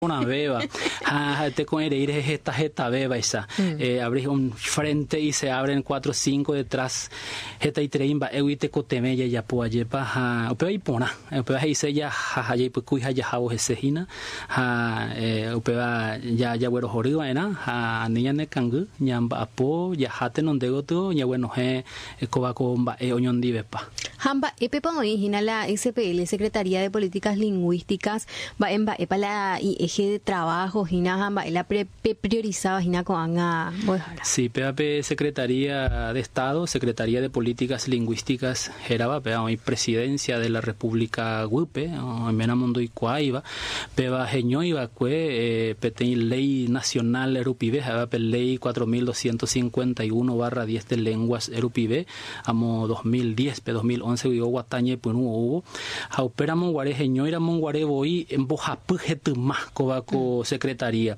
Porãvéva ha ha'ete ko'ẽrei rehe heta hetavévaicha. Abrís un frente y se abren cuatro cinco detrás. Hetaiterei mba'égui tekotevẽ jajapo ajépa ha upéva iporã. Upéva he'ise jaha ha jaipykúi ha jahávo hese hína ha upéva jaguerohory va'erã ha ani ñanekangy ñamba'apo jaha tenonde gotyo ñaguenohẽ kóva ko mba'e oñondivepa. Ha mba'épepa oĩ hína la SPL, Secretaría de Políticas Lingüísticas, mba'e mba'épa la i'eje de trabajo hína ha mba'e la pepriorisáva hína ko'ág̃a mbo'ehára? Sí, péva pe Secretaría de Estado, Secretaría de Políticas Lingüísticas hérava, péva oĩ Presidencia de la República guýpe, oiméramo ndoikuaáiva, péva heñói va'ekue peteĩ léi nacional rupive, ha'éva pe Léi 4251/10 de Lenguas rupive, amo 2010-pe, 2011 guive oguata ñepyrũ oúvo, ha upéramo guare heñóiramo guare voi mbohapy hetyma kóva ko Secretaría.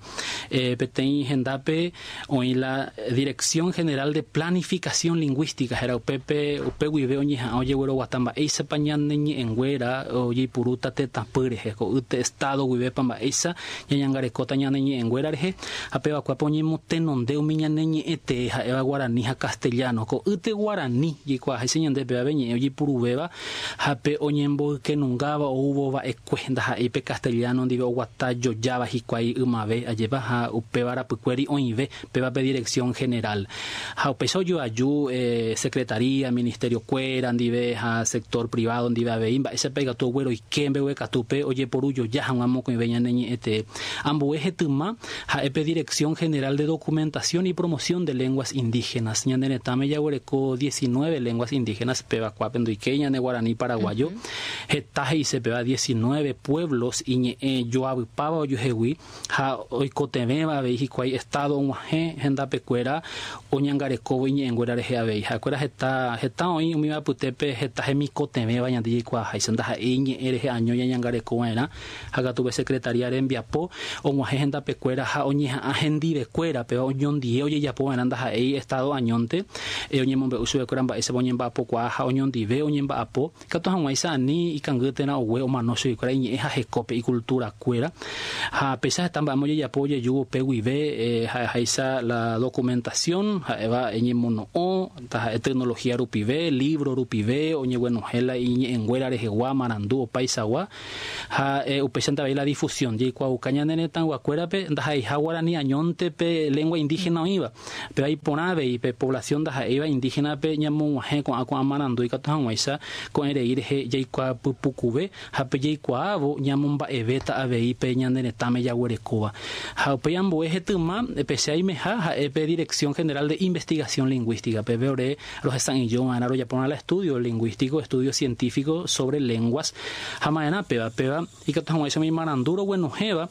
Peteĩ hendápe oĩ la Dirección General de Planificación Lingüística, héra upépe, upe guive oñeha'ã ojegueroguata mba'éichapa ñane ñe'ẽnguéra ojeipurúta tetãpy rehe, ko'ýte Estado guivépa mba'éicha ñañangarekóta ñane ñe'ẽnguéra rehe, ha pevakuápe oñemotenonde umi ñane ñe'ẽ tee ha'éva guarani ha castellano. Ko'ýte guarani jaikuaaháicha ñande péva pe ñe'ẽ ojepuruvéva ha pe oñemboykenungáva oúvo va'ekue, ndaha'éi pe castellano ndive oguata jojáva hikuái ymave, ajépa, ha upéva rapykuéri oĩve péva pe Dirección General. Ha upéicha ojoaju Secretaría, Ministerio-kuéra ndive ha sector privado ndive avei, mba'éichapa ikatu ogueroike mbeguekatúpe ojeporu joja hag̃ua mokõive ñane ñe'ẽ tee. Ambue hetyma ha'e pe Dirección General de Documentación y Promoción de Lenguas Indígenas. Ñane retãme jaguereko diecinueve lenguas indígenas, péva kuápe ndoikéi ñane guarani paraguayo. Heta he'ise péva diecinueve pueblos iñe'ẽ joavypáva ojuehegui ha oikotevẽva avei hikuái Estado og̃uahẽ hendapekuéra oñangarekóvo iñe'ẽnguéra rehe avei. Ha'ekuéra heta, heta oĩ umíva apytépe heta hemikotevẽva ñande jaikuaaháicha, ndaha'éi iñe'ẽ rehe año ñañangarekova'erã, ha katu pe Secretaría rembiapo og̃uahẽ hendapekuéra ha oñeha'ã hendivekuéra, péva oñondie ojejapova'erã ndaha'éi Estado añónte, oñemombe'u chupekuéra mba'éichapa oñemba'apokuaa ha oñondive oñemba'apo. Ikatu hag̃uáicha ani ikangy térã ogue omano chuguikuéra iñe'ẽ ha hekópe, ikulturakuéra. Ha péicha heta mba'éma ojejapo ojejúvo upe guive ha'eháicha la documentación, ha'éva eñemono'õ, taha'e tecnología rupive, libro rupive, oñeguenohẽ la iñe'ẽnguéra rehegua, marandu opaichagua, ha upéichante avei la difusión, jaikuaauka ñane retãyguakuérape ndaha'eiha guarani añónte pe lengua indígena oĩva. Péva iporã avei pe población ndaha'éiva indígena-pe ñamog̃uahẽ ko'ã ko'ã marandu ikatu hag̃uáicha ko'ẽrei rehe jaikuaapypukuve ha pe jaikuaávo ñamomba'evéta avei pe ñane retãme jaguerekóva. Ha upéi ambue hetyma pe che aimeha ha'e pe Dirección General de Investigación Lingüística, pépe ore rohesa'ỹijova'erã rojaporã la estudio lingüístico, estudio científico sobre lenguas ha ma'erã péva, péva ikatu hag̃uáicha umi marandu roguenohẽva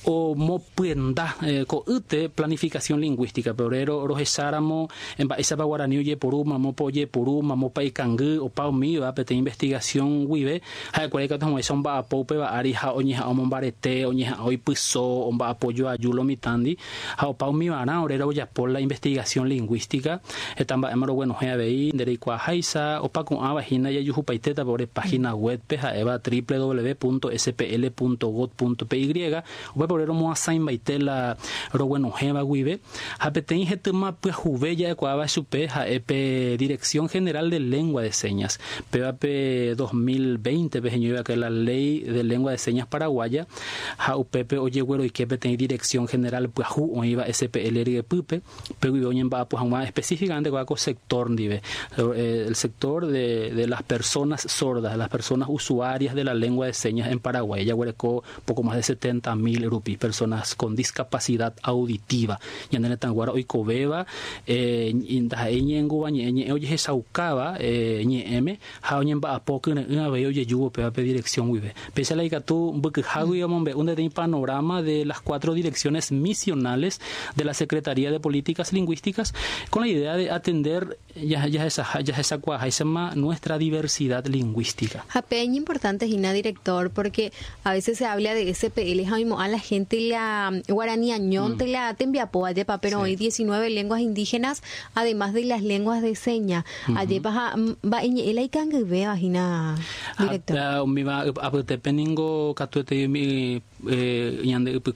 Omopyenda ko'ýte planificación lingüística-pe, ore rohecháramo mba'éichapa guarani ojeporu, mamópa ojeporu, mamópa ikangy, opa umíva peteĩ investigación guive, ha'ekuéra ikatu hag̃uáicha omba'apo upéva ári ha oñeha'ã omombarete, oñeha'ã oipyso, omba'apo joaju lo mitãndi, ha opa umivarã ore rojapo la investigación lingüística, heta mba'éma roguenohẽ avei, nde reikuaaháicha, opa ko'ãva hína jajuhupaitétapa ore página web-pe ha'éva www.spl.gob.py, upépe ore romoasãimbaite la roguenohẽva guive, ha peteĩ hetyma pyahuve ja'ekuaáva chupe ha'e pe Dirección General de Lengua de Señas, péva pe 2020-pe heñóiva'ekue la Ley de Lengua de Señas Paraguaya, ha upépe ojegueroike peteĩ Dirección General pyahu oĩva SPL ryepýpe, upe guive oñemba'apo hag̃ua específicamente kóva ko sector ndive, el sector de, de las personas sordas, las personas usuarias de la lengua de señas en Paraguay, jaguereko poco más de 70.000 rupi personas con discapacidad auditiva, ñane retãyguára oikovéva ndaha'éi ñe'ẽngúva ñe'ẽ, ñe'ẽ ojehechaukáva ñe'ẽme ha oñemba'apo kyre'ỹ avei ojejúvo upéva pe dirección guive. Péicha la ikatu mbykyhágui omombe'u ndeteĩ panorama de las cuatro direcciones misionales de la Secretaría de Políticas Lingüísticas con la idea de atender jahechakuaaháichama nuestra diversidad lingüística. Ha pe iñimportante hína director porque a veces se habla de SPL ha oimo'ã la gente. gente la guaraní añónte la tembiapo ajépa, pero oĩ 19 lenguas indígenas además de las lenguas de seña, ajépa ha mba'e ñe'ẽ la ikangyvéva hína, director. Ha umíva apytépe ningo katuete umi ñande ypy.